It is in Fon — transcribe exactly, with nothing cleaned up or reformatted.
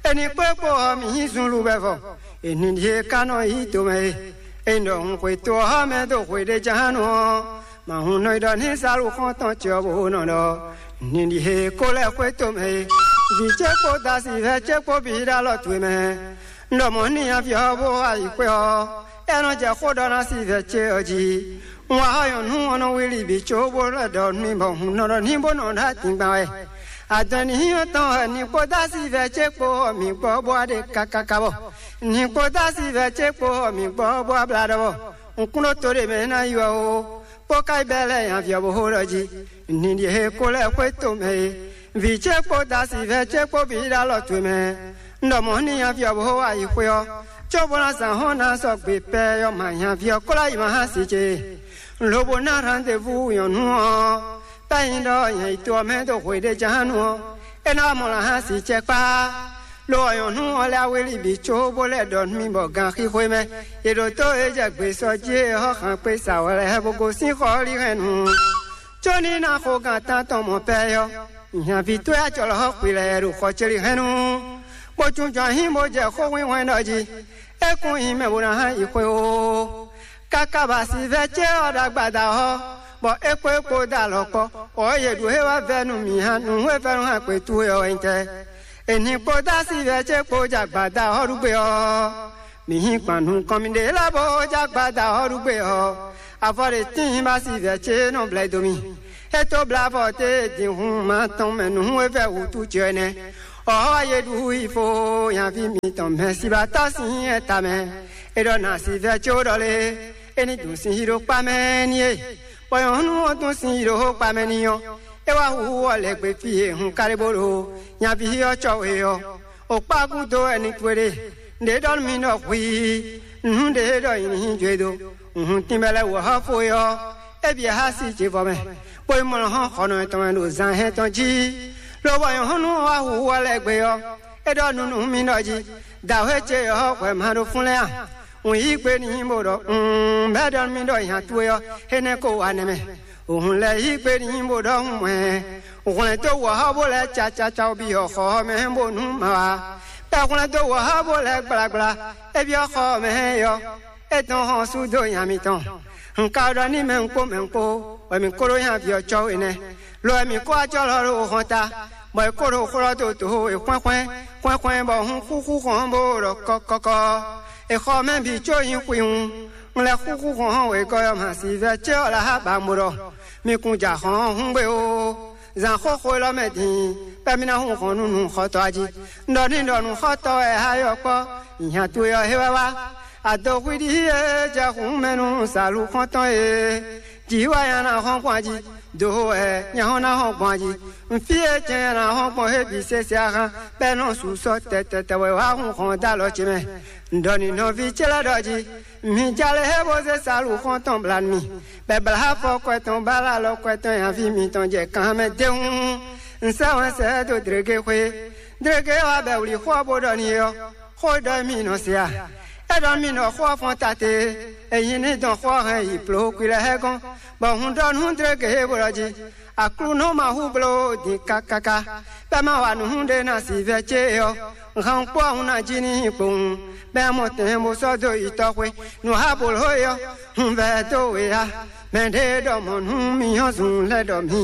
Eni kpó kpó ɔ́, mǐ nyí zunluvɛvɔ. Eni ɖíe ka nɔ yí tomɛ e. Eni ɖɔ hun xwetó ɔ́ mɛ dó xwe ɖé ján nú ɔ́, ma hun nɔ yi ɖɔ ní Salu xɔ́ntɔn ce ɔ́ bó nɔ ɖɔ: Eni ɖíe ko lɛ́ xwé tomɛ e. Vǐ ce kpó dasivɛ́ ce kpó bǐ ɖo alɔ towe mɛ. Un ɖɔ mɔ̌ n'i aví ɔ́ bó wá yi xwé ɔ́, é nɔ jɛ xó ɖɔ ná si vɛ ce ɔ́ jí. Un wá xɔ nyɔ̌nu ɔ́ nɔ wlí bǐ có bó lɛ́ ɖɔ n'i bɔ hun nɔ ɖɔ ní bó nɔ ɖo adingban wɛ. Adɔn ní nyí tɔn wɛ ní kpó dó asi vɛ ce kpó ɔ́ mǐ gbɔ bó wá ɖe kákáká bɔ ní kpó dó asi vɛ ce kpó ɔ́ mǐ gbɔ bó wá blá ɖɔ bɔ un kún ɖó to ɖé mɛ ná yi wɛ o, kpó ka yi bɛ́ lɛ́ nyaví ɔ́ bó xó ɖɔ jí. Ní ɖíe ko lɛ́ xwé tomɛ e. Vǐ ce kpó dasivɛ́ ce kpó bǐ ɖo alɔ towe mɛ. Un ɖɔ mɔ̌ n'i nyaví ɔ́ bó xo ayixwé ɔ́, cóbó ná zǎn hɔn ná sɔgbe pɛ ɔ́ ma nyaví ɔ́ kó lɛ́ yi ma hán si ce. Un lobo ná rendezvous nyɔ̌nu ɔ́, pɛ́ nyi ɖɔ nyɛ yi to ɔ́ mɛ dó hwe ɖé ján nu ɔ́, é ná wá mɔ lǎ hán si cɛ kpá. Lo ɔ́ nyɔ̌nu ɔ́ lɛ́ awéli bǐ có bó lɛ́ ɖɔ nú mì bɔ ganxixwé mɛ è ɖǒ tó é jɛ gbesɔjí e Xɔ́xankpé sa wɛ lɛ́ɛ bó gosín xɔ ɔ́ lihɛ́nnu. Có ní ná xo gan tántɔn mɔ̌ pɛ́ ɔ́, nyaví towe acɔlɔ xɔ xwi lɛ́ɛ ɖo xɔ ce lihɛ́nnu, bó jínjɔ́n ayǐ bó jɛ xó hwínhwɛ́n ɖɔ jí. É kún nyí mɛ bó ná hán yi xwé ó. Káká ba sivɛ́ ce ɔ́ ɖo agbada ɔ́, bɔ é kpó é kpó dó alɔ kpɔ́, bɔ yě ɖu é wá vɛ́ nú mǐ hán nǔ e vɛ́ nú hán kpě towe ɔ́ wɛ nyí tɛ́? È nǐ kpó dó asivɛ́ ce kpó jɛ agbada ɔ́ ɖu gbé ɔ́, mǐ hín gban nukɔn mì ɖě lɛ́ɛ bó jɛ agbada ɔ́ ɖu gbé ɔ́, avɔ ɖě tíin ba sivɛ́ ce nɔ blɛ́ dó mì. É tó blá avɔ té dǐnhún ma tɔn mɛ nǔ e vɛ́ wǔtu ce ɔ́ nɛ́. Ɔ́ yě ɖu ifo nyaví mitɔn mɛ sibatɔ́ sín ɛta mɛ. É ɖɔ nǎ sivɛ́ ce ó ɖɔ lé, é ní dun sin yi ɖó kpá mɛ ní é. Bɔ nyɔ̌nu ɔ́ tún sin yi ɖó xó kpa mɛ n'i ɔ́, é wá hu ɔ́ lɛ̌ gbe fí e hun káɖé bó ɖo nyaví ɔ́ cɔ́ we ɔ́. O kpá gúdo wɛ ní towe ɖe. Nǔɖé ɖɔ nú mì ɖɔ hwii, nǔ ɖé ɖɔ nyi ní nyi jó e dó. Hun tínbɛ́ lɛ́ɛ wǒ xɔ fó é ɔ́, é bǐ xá sí ce vɔ mɛ, bó yi mlɔ́ hɔn xɔnɔ tɔn mɛ ɖo zan hɛn tɔn jí. Lobɔ nyɔ̌nu ɔ́ wá hu ɔ́ lɛ́ gbe ɔ́, é ɖɔ nú nú mì ɖɔ jí: Dǎwe ce ɔ́ hwɛ ma ɖo fún lɛ́ɛ a? Un yí gbe n'i bó ɖɔ un bɛ́ ɖɔ nú mì ɖɔ nya towe ɔ́, énɛ́ ko wa nɛ́ mɛ. Òhun lɛ́ yí gbe n'i bó ɖɔ un mɔ̌ ɛ. Hwlɛ̌n dó wɔ̌xɔ́ bó lɛ́ɛ cacaca biyɔ xɔ ɔ́ mɛ bónú ma wá. Bɛ́ hwlɛ́n dó wɔ̌xɔ́ bó lɛ́ɛ gblagbla, é byɔ́ xɔ ɔ́ mɛ é ɔ́, é dɔn xɔ́n sú dó nya mitɔn. Un ka ɖɔ n'i mɛ un kpó mɛ un kpó, bɔ mǐ kó ɖó nyaví ɔ́ cɔ́ we nɛ́. Lo wɛ mǐ kó acɔ́ lɔ ɖo hɔn ta, bɔ è kó ɖo xlɔ́ dó dǒ e xwɛ́nxwɛ́n xwɛ́nxwɛ́n bɔ hun xúxú hɔn bó ɖɔ kɔ́kɔ́kɔ́. È xɔ mɛ bǐ có nyí xwihun. Un lɛ́ xúxú hɔn hɔn wěgɔ́ ɔ́ ma si vɛ́ ce ɔ́ lɛ́ xá ba mo ɖɔ: Mi kun ja hɔn ɔ́ húngbé ó. Zǎn xóxó élɔ́ mɛ din, bɛ́ mì ná hun hɔn nú nǔxɔtɔ́ ɔ́ jí. Un ɖɔ n'i ɖɔ nǔxɔtɔ́ wɛ xá yɔ kpɔ́, nya towe ɔ́ é wɛ wá. Adoxwíɖí e jɛ hǔn mɛ nú sǎlu xɔ́ntɔn e. Jǐ wɛ nya ná hɔn gbɔn jí, dǒ wɛ nya hɔn ná hɔn gbɔn jí. Nfí e jɛ nya ná hɔn gbɔn hé bǐ sésé axán, bɛ́ nɔ su sɔ́ tɛtɛtɛ wɛ wá hun hɔn dó alɔ ce mɛ. Un ɖɔ n'i nɔví ce lɛ́ɛ ɖɔ jí: Mi jale hé bó zé sǎlu xɔ́ntɔn bla nú mì, bɔ è blá afɔ kɔ tɔn bó alɔ kɔ tɔn nyaví mitɔn jɛ kan mɛ d'é hǔn. Un sɛ́ wɛn sɛ ɛ dó dlěgé xwé. Dlěgé wá bɛ wlǐ xó ɔ́ bó ɖɔ n'i ɔ́, xó ɖɔ mì nɔ se a? É ɖɔ mì nɔ xó ɔ́ fɔ́n tate, é nyí ní dɔn xó ɔ́ hɛn yi plǒkwílɛ́ hɛ gɔ́n, bɔ hun ɖɔ nú dlěgé e bó ɖɔ jí: Aklúnɔ ma hú bló din kákáká, bɛ́ má wa nǔ ɖé ná si vɛ́ ce ɔ́, han kpó ahun ná jí n'i kpowun, bɛ́ mɔ tɛn bó sɔ́ dó yi tɔ́xwé. Nǔ ha blǒ é ɔ́, hun vɛ́ dó we a? Mɛɖé ɖɔ mɔ̌ nú mì ɔ́ zun lɛ́ ɖɔ mì